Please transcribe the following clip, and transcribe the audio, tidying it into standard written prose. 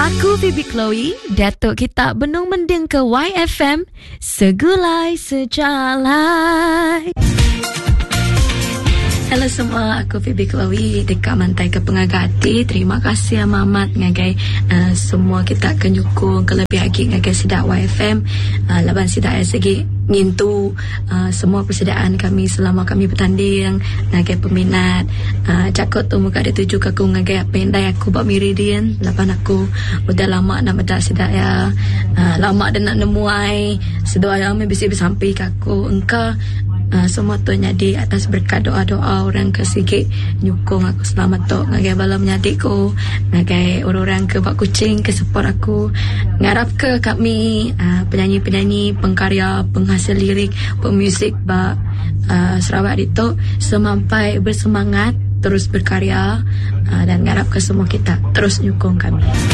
Aku Phoebe Chloe, diatu kita benung mendingka YFM Segulai Sejalai. Hello semua, aku Phoebe Chloe deka mantaika pengaga ati. Terima kasih amat-amat ngagai uh, semua kita ke nyukung kelebih agi ngagai sida YFM uh, laban sida sigi ngintu uh, semua persediaan kami selama kami betanding ngagai peminat. Uh, jaku tu mega dituju ke aku ngagai apai indai aku ba Miri din laban aku udah lama enda meda sida iya. Uh, lama deh enda nemuai seduai iya meh bisi besampi ke aku engka uh, semua tu nyadi atas berkat doa-doa orang ke sigi nyukung aku selama tu ngagai bala menyadi ku ngagai orang-orang ke ba Kuching ke support aku ngarap ke kami uh, penyanyi-penyanyi pengkarya penghasil lirik pemuzik ba uh, Sarawak ditu semampai bersemangat terus berkarya uh, dan ngarap ke semua kita terus nyukung kami. Thank.